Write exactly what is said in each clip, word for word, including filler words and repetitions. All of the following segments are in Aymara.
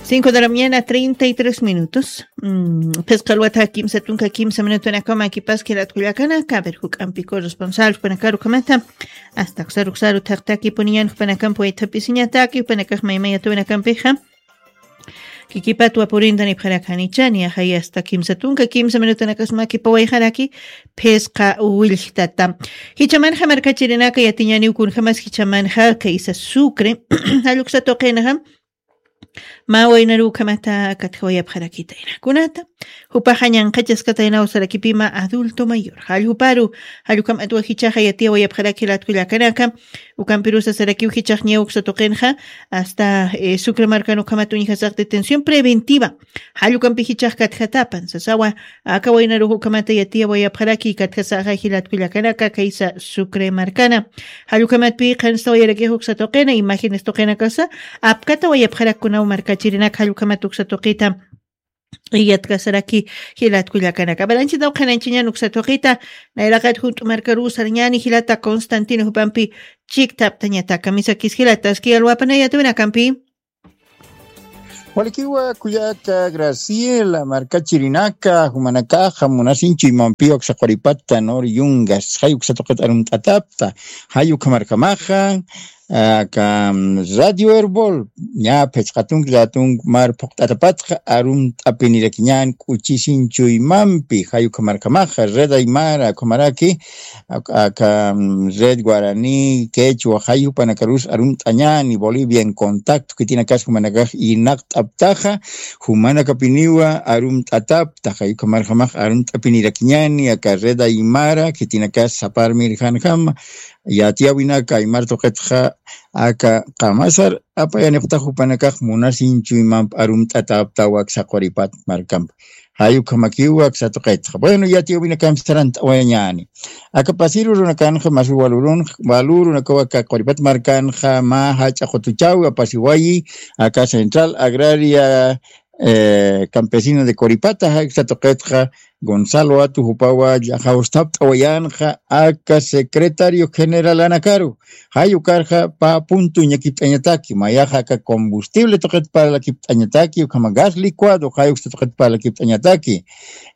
Cinco de la mañana, treinta y tres minutos. Mm, phisqa alwata kimsa tunka kimsa minutunakama kipas kiratkullakanaka. A ver, juk'ampi corresponsal jupanakaru kamata. Hasta uksaru uksaru thaqtaki puniñan jupanakampi waythapisiñataki jupanakax maymayatunakampixa. Kikipat wapurinta nipxarakanichani, ajay hasta kimsa tunka kimsa minutunakasma kipawayxaraki phisqa willtata. Jichamanxa markachirinaka yatiñani ukunjamas jichamanxa kaysa Sucre. Jalluksa tuqinxa mä waynaru ukhamata katjawayapxarakitayna. Kunata, jupaxa ñanqhachaskataynaw sarakipima adulto mayor. Jalljuparu, jallukhamatwa jichaxa yatiyawayapxarakilatkullakanaka, ukampirusa sarakiw jichax ñawksa tuqinxa, hasta, eh, Sucre markan ukhamat uñjasax detención preventiva. Jallukampi jichax katjatapan, sasawa, aka waynaru ukhamata yatiyawayapxaraki katjasaxa jilatkullakanaka kaysa Sucre markana. Jallukhamatpi qhanstawayarakixa uksa tuqina, imágenes tuqinakasa, apkatawayapxarakkunaw markachirinak jallukhamat uksa tuqita. Iyatkasaraki jilatkullakanaka. Balanchitaw qhananchiñan uksa tuqita, nayraqat junt'u markaru sarañani jilata Constantino jupampi chiktaptañataka. Misakis jilataski alwapanayatunakampi. Walikiwa kullaka Graciela, markachirinaka, jumanakaxa munasinchu imampiwa uksa quripata, nor yungas, jay uksa tuqit arumt'atapta, jay ukhamarkamaxa, aka, mm, Radio Erbol, ña phisqa tunka tunka mar phuqt'atapatxa, arumt'apinirakiñan k'uchisinchu imampi, jay ukhamarkamaxa, Red Aymara, ukhamaraki, aka, aka, mm, Red Guaraní, Quechua, jay jupanakarus arumt'añani, Bolivia en Contacto, khitinakas jumanakax irnaqt'aptaxa, jumanakapiniwa arumt'atapta, jay ukhamarjamax arumt'apinirakiñani, aka Red Aymara, khitinakas saparmirjanjama, yatiyawinaka aymar tuqitxa, aka qamasar apayanipxta jupanakax munasinchu imamp arumt'ataptawa aksa quripat markamp. Jay ukhamakiwa aksa tuqitxa. Bueno, yatiyawinakamp sarant'awayañani. Aka pasir urunakanxa mas walurunakawa aka quripat markanxa mä jach'a qutuchawi apasiwayi, aka Central Agraria, eh, Campesina de Coripata, jay uksa tuqitxa Gonzalo Atu jupawa llajawstapt'awayanxa aka secretario generalanakaru. Jay ukarxa pä punto ñakipt'añataki, mayaxa aka combustible tuqit parlakipt'añataki, ukhama gas licuado, jay uksa tuqit parlakipt'añataki.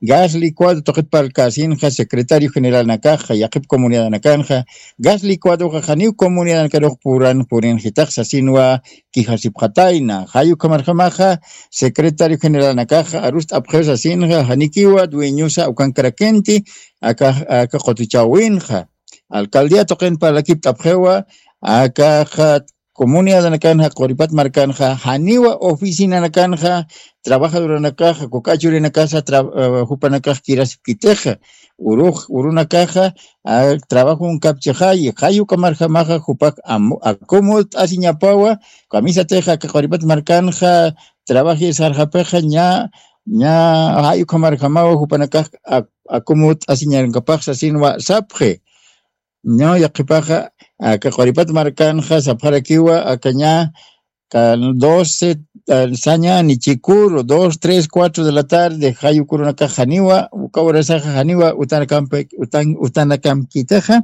Gas licuado tuqit parlkasinxa secretario generalnakaxa, yaqhip comunidadnakanxa, gas licuadoxa janiw comunidadnakarux puran purinxitax sasinwa quejasipxatayna. Jay ukhamarjamaxa secretario generalnakaxa arust'apxiw sasinxa, janikiwa dueñosa ukankarakenti aka, aka qutuchawinxa. Alcaldía tuqin parlakipt'apxiwa, akaxa comunidadnakanxa, quripat markanxa, janiwa oficinanakanxa, trabajadoranakaxa, kuk'achurinakasa, tra-, eh, jupanakax kirasipkitixa, urux, urunakaxa, ah, trabajon kapchixayi, jay ukhamarjamaxa, jupak am-, akumut'asiñapawa, kamisatixa, aka quripat markanxa, trabajir sarxapixa, ña, ña, jay ukhamarjamawa, jupanakax, ak-, akumut'asiñankapax sasinwa sapxi. Ña, yaqhipaxa, aka quripat markanxa, sapxarakiwa, aka ña, ka doce, ah, sañani chikuru, dos, tres, cuatro de la tarde, jay ukurunakax janiwa, uka urasaxa janiwa, utanakampi-, utan-, utanakamkitaxa,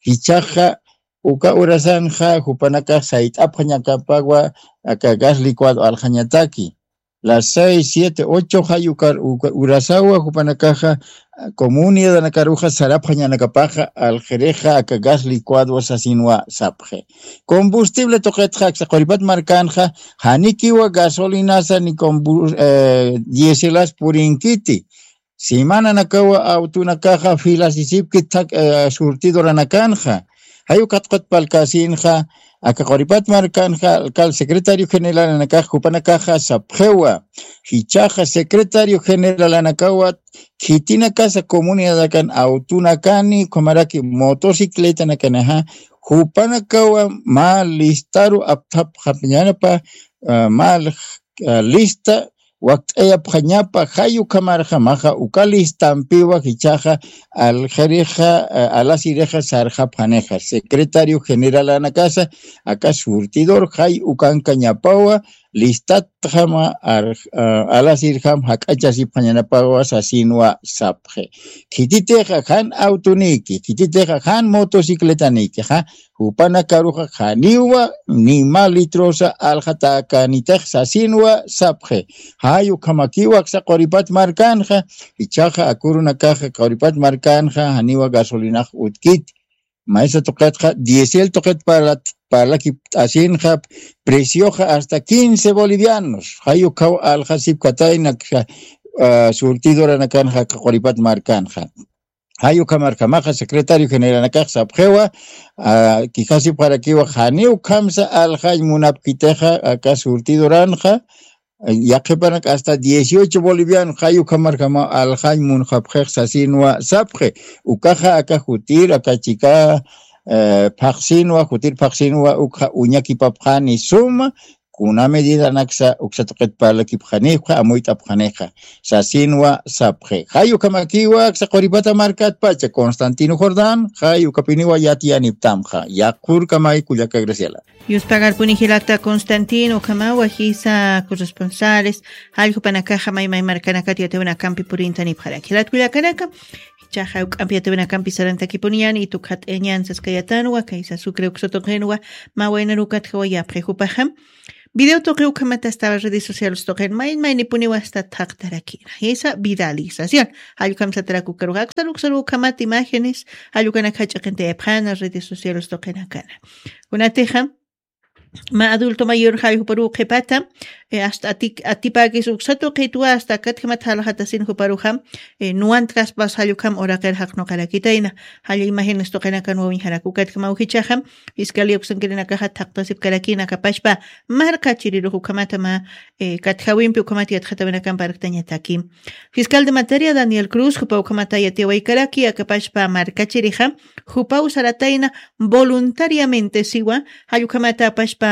jichhaxa, uka urasanxa, jupanakax sayt'apxañakapawa, aka gas licuado alxañataki. Las seis, siete, ocho jay ukar-, uka-, urasawa jupanakaxa, ah, comunidadanakaruxa sarapxañanakapaxa, alxirixa, aka gas licuado sasinwa sapxi. Combustible tuqitxa, aksa quripat markanxa, janikiwa gasolinasa ni combu-, eh, dieselas purinkiti. Semananakawa autonakaxa filasisipki thak-, eh, surtidoranakanxa. Jay ukat qutpalkasinxa, aka quripat markanxa, alcal secretario generalanakax, jupanakaxa sapxiwa. Jichhaxa secretario generalanakawa, khitinakasa comunidadakan autonakani, ukhamaraki motocicletanakanaxa, jupanakawa mä listaru apthapxapxañanapa, ah, mä, ah, lista wakt'ayapxañapa, jay ukhamarjamaxa, uka listampiwa jichhaxa, alxirixa, eh, alasirixa sarxapxanixa, secretario generalanakasa, aka surtidor, jay ukankañapawa, listatjama alasirjam jak'achasipxañanapawa sasinwa sapxi. Khititixa jan autoniki, khititixa jan motocicletanikixa, jupanakaruxa janiwa nima litrosa alxatakanitix sasinwa sapxi. Jay ukhamakiwa aksa quripat markanxa, ichaxa akurunakaxa quripat markanxa janiwa gasolinax utkiti. Maysa tuqitxa diésel tuqit parlat parlakipt'asinxa, precioxa hasta quince bolivianos. Jay ukhaw alxasipkatayna surtidoranakanxa quripat markanxa. Jay ukhamarjamaxa secretario generalnakax sapxiwa, kijasipxarakiwa janiw ukhamsa alxañ munapkitixa aka surtidoranxa, yaqhipanak hasta dieciocho boliviano jay ukhamarjamaw alxañ munxapxix sasinwa sapxi. Ukaxa aka jutir aka chika phaqsinwa jutir phaqsinwa ukxa uñakipapxani suma, kuna medidanaksa uksa tuqit parlakipxanipxa amuyt'apxanixa sasinwa sapxi. Jay ukhamakiwa aksa quripata markatpacha Constantino Jordán, jay ukapiniwa yatiyaniptamxa. Yaqhurkamay kullaka Graciela. Yuspagarpuni jilata Constantino ukhamawa jisa corresponsales jalljupanakaxa maymay markanakat yatawinakampi purintanipxarak jilat kullakanaka. Ichaxa uk'ampi yatawinakampi sarantakipuniyani tukxat'añan saskayatanwa kaysa sucre uksa tuqinwa. Mawaynarukat jawayapxi jupaxa video tuqi ukhamat hasta redes sociales tuqin mayn maynipuniwa hasta thaqtarakina jisa viralización. Jallukhamsatarak ukaruxa aksaru uksaru ukhamat imágenes jallukanak jach'aqintayapxana redes sociales tuqinakana. Kunatixa mä adulto mayor jay juparuw qhipata hasta atipäkis uksa tuqitwa hasta akatjamat jalxatasin juparuxa nuwantkaspas jallukham uraqir jaqnuqarakitayna. Jalla imágenes tuqinakan wawiñjarak ukatjamaw jichaxa fiscalía uksankirinakaxa thaqtasipkarakina kapashpa markachirirux ukhamata mä katjawimpi ukhamata yatxatawinakampa arktañataki. Fiscal de materia Daniel Cruz jupa ukhamata yatiyawaykaraki akapashpa markachirixa jupaw saratayna voluntariamente siwa jallukhamata apashpa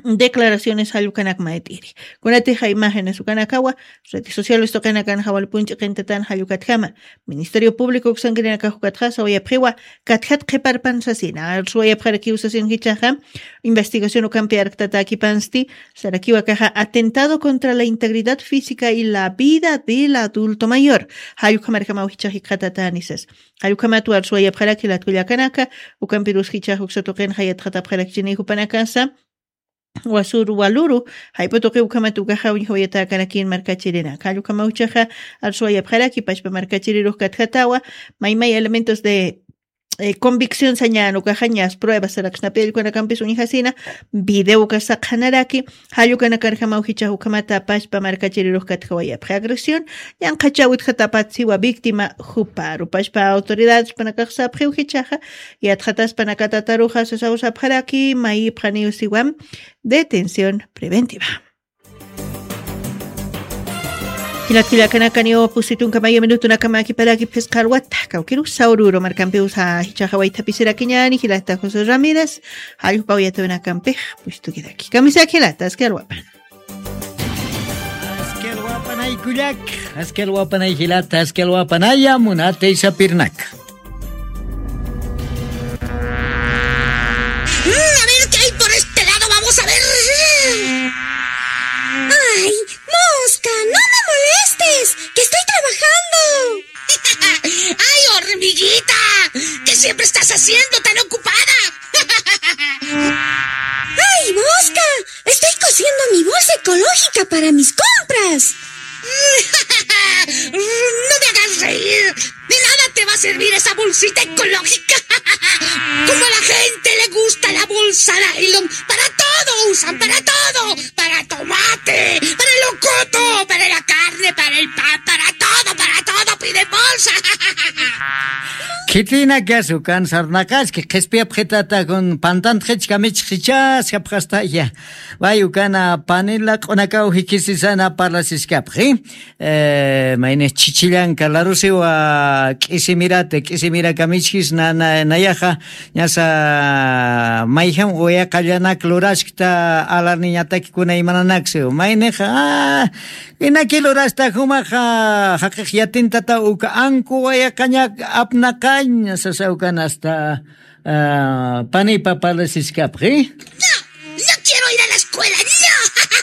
declaraciones jallukanak mayt'iri. Kunatixa imágenes ukanakawa redes sociales tuqinakan jawalpunch'iqintatan jallukatjama ministerio público uksankirinakax ukatxa sawayapxiwa katjat qhiparpan sasina arsuwayapxarakiw sasin jichaxa investigación ukampi arktatakipansti sarakiwakaxa atentado contra la integridad física y la vida del adulto mayor. Jallukhamarjamaw jichax jikxatatani sas jallukhamat warsuwayapxaraki latkullakanaka. Ukampirus jichax uksa tuqinxa yatxatapxarakchini jupanakasa wasur waluru jayp'u tuqi ukhamat ukaxa uñjawayatakanakïn markachirina kallukhamawchaxa arsuwayapxaraki pachpa markachirirux katjatawa maymay elementos de convicción sañan ukaxa ñas pruebas saraksnapi allkunakampis uñjasina videoka saqhanaraki. Jallukanakarjamaw jichax ukhamata pachpa markachirirux katjawayapxi agresión ñanqhachaw utjatapat siwa víctima juparu pachpa autoridades panakax sapxiw jichaxa yatxataspanakatataruxa sasaw sapxaraki mayipxaniw siwam detención preventiva. Jilat kullakanakaniw pusitunkamaya minutunakama kiparaki phisqa alwata kawkirusa ururu markampiwsa jichaxa waythapisirakiñani jilata José Ramírez. Jallpaw yatawinakampix pusitukiraki kamisaki jilata aski alwapa. Aski alwapanay kullak, aski alwapanay jilata aski alwapanaya munatay sapirnaka. Mm, a ver qué hay por este lado, vamos a ver. Ay, Mosca, no me molestes, que estoy trabajando. Ay, hormiguita, ¿qué siempre estás haciendo tan ocupada? Ay, Mosca, estoy cosiendo mi bolsa ecológica para mis compras. No me hagas reír. De nada te va a servir esa bolsita ecológica. Como a la gente le gusta la bolsa nylon, para todo usan, para todo. Para tomate, para locoto, para la carne, para el pan, para todo, para todo piden bolsa. Khitinakasukan sarnaqaski qhispiyapxitata kun pantantxich kamichxichas japxastaya. Way ukana panila q'unakaw jikhisisana parlasiskapxi. Mayni chichillanka larusiwa k'isimirata k'isimiraka michkis nayaxa ñasa mayjam uyaqallanak luraskta alarniñatakikuna imananaksiw maynixa. Inaki lurasta jumaxa jaqix yatintata uka anku wayaqañak apnaqañ sasawkanasta. Panipa parlasiskapxi. No quiero ir a la escuela, no.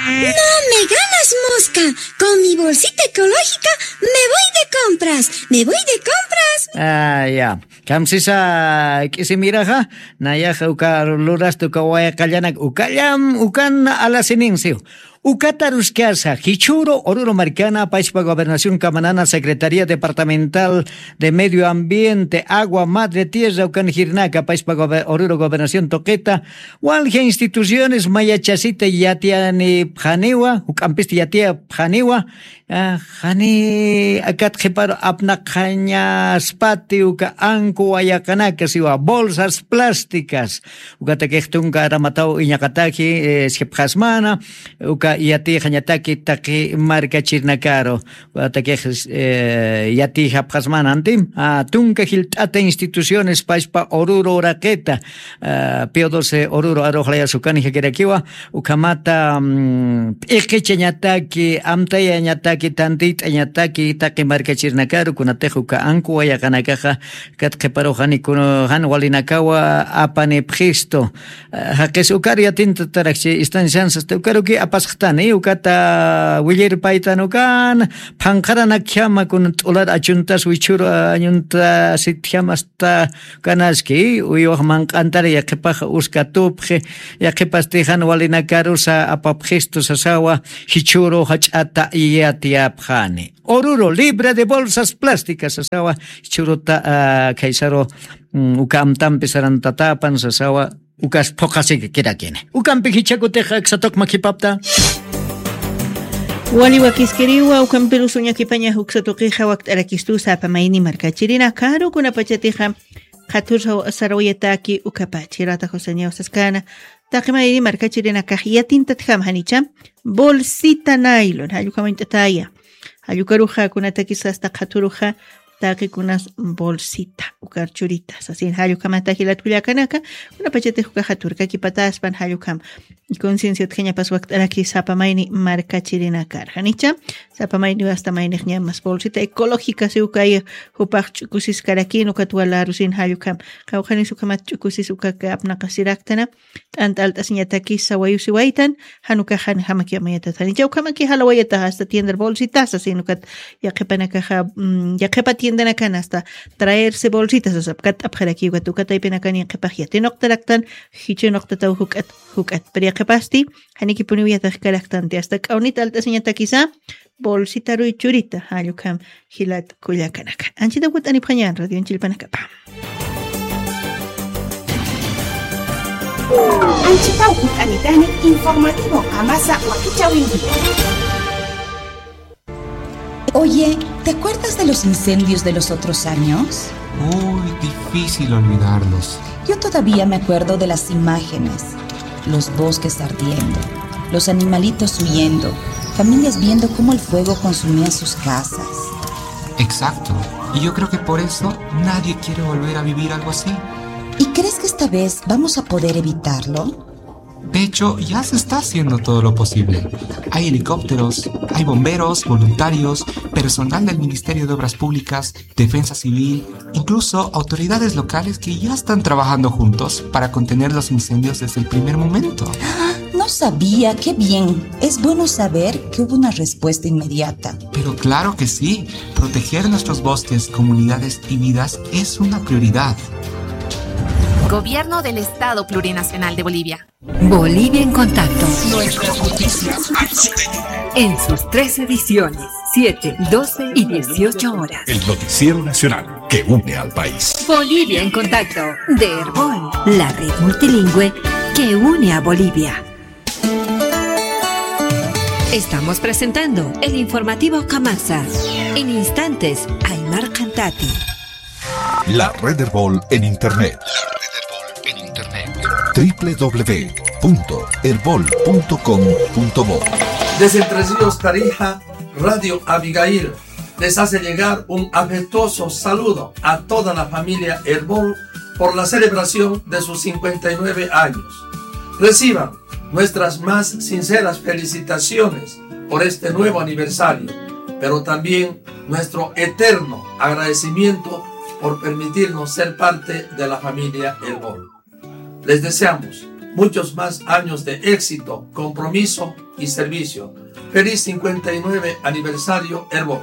No me ganas, mosca. Con mi bolsita ecológica me voy de compras. Me voy de compras. Ah, ya. Kamsisa k'isimiraxa, nayaxa uka lurasta uka wayqallanak ukallam, ukan alasininsiw. Ukataruskasa, Jichhüru Oruro markana, payspa Gobernación Camanana, Secretaría Departamental de Medio Ambiente, Agua, Madre Tierra, ukan jirnaka, payspa gobe-, Oruro Gobernación tuqita, walja instituciones mayachasita yatiyanipxaniwa, juk'ampista yatiyapxaniwa, ah, jani akat qhiparu apnaqañaspati uka anku wayaqanaka siwa, bolsas plásticas, ukatakix tunka aramataw iñaqataki, eh, sipxasmana, uka yatixañataki taqi markachirnakaru, ukatakix, eh, yatixapxasmana antim, ah, tunka jilt'ata instituciones payspa Oruro uraqita, ah, Pío doce Oruro aruxlayas ukan jakirakiwa, ukhamata, mm, p'iqichañataki, amtayañataki, tantit'añataki, taqi markachirnakaru, kunatix uka anku wayaqanakaxa, kat qhiparu jani kun-, jan walinakawa apanipxistu. Eh, jaqis ukar yatintatarakchi, instanciansas, ukaruki apasxtani, ukata willirpaytan ukan, phanqharanakjama kun t'ular achuntas wichhüru añuntasitjama asta kanaski, uywax manq'antar yaqhipax uskatupxi, yaqhipasti jan walinakarusa apapxistu sasawa, Jichhüru jach'ata yatiyapxani. Oruro, libre de bolsas plásticas, sasawa, Jichhüruta, ah, khaysaru, mm, uka amtampi sarantatapan, sasawa, ukas phuqhasiki kirakini. Ukampi jichhakutix aksa tuq makhipapta. Wali wakiskiriwa, ukampirusa uñakipañax uksa tuqixa wakt'arakistusa sapa mayni markachirinakaru, kunapachatixa qhathur saw-, sarawayataki ukapach. Jirata José Ñaw saskana, taqi mayni markachirinakax yatintatjam janicha, bolsita nylon, jallukamañt'ataya. Jallukaruxa kunatakis asta qhathuruxa taqi kunas bolsita, ukar churita, sasin jallukhamata jilat kullakanaka, kunapachatix uka qhathurkakipataspan jallukam. Conciencia utjañapas wakt'araki sapa mayni markachirinakar. Janicha, sapa mayni asta maynix ñamas bolsita ecológica si ukay jupax ch'ukusiskarakin ukat walarusin jallukam. Qawqhanis ukhamat ch'ukusis ukaka apnaqasiraktana, t'ant'alt'asiñatakis sawayusiwaytan, jan ukax jan jamakiw amayatat janicha, ukhamaki jalawayatax asta tiendar bolsitas, sasin ukat yaqhipanakaxa, mm, yaqhipa tiendanakan asta traerse bolsitas, sasap kat t'apxaraki ukat, ukat taypinakan yaqhipax yatinuqtaraktan, jichhunuqtataw juk'at, juk'at. Pero yaqhipasti, janikipuniw yatiqkaraktanti, asta k'awnit alt'asiñatakisa, bolsitaruy churita, jallukham jilat kullakanaka. Anchita jut'anipxañan, radioñ chillpanakapa. Anchita jut'anitani informativo Kamasa wakichäwinpi. Oye, ¿te acuerdas de los incendios de los otros años? Uy, difícil olvidarlos. Yo todavía me acuerdo de las imágenes, los bosques ardiendo, los animalitos huyendo, familias viendo cómo el fuego consumía sus casas. Exacto. Y yo creo que por eso nadie quiere volver a vivir algo así. ¿Y crees que esta vez vamos a poder evitarlo? De hecho, ya se está haciendo todo lo posible. Hay helicópteros, hay bomberos, voluntarios, personal del Ministerio de Obras Públicas, Defensa Civil, incluso autoridades locales que ya están trabajando juntos para contener los incendios desde el primer momento. No sabía, qué bien. Es bueno saber que hubo una respuesta inmediata. Pero claro que sí, proteger nuestros bosques, comunidades y vidas es una prioridad. Gobierno del Estado Plurinacional de Bolivia. Bolivia en Contacto. Nuestras noticias al sueño. En sus tres ediciones, siete, doce y dieciocho horas. El noticiero nacional que une al país. Bolivia en Contacto, de Erbol, la red multilingüe que une a Bolivia. Estamos presentando el informativo Kamasa. En instantes, Aymar Cantati. La Red Erbol en Internet. La Red Erbol en Internet. W W W punto erbol punto com punto bo. Desde Entre Ríos, Tarija, Radio Abigail les hace llegar un afectuoso saludo a toda la familia Erbol por la celebración de sus cincuenta y nueve años. Reciban nuestras más sinceras felicitaciones por este nuevo aniversario, pero también nuestro eterno agradecimiento por permitirnos ser parte de la familia Erbol. Les deseamos muchos más años de éxito, compromiso y servicio. Feliz cincuenta y nueve aniversario, Erbo.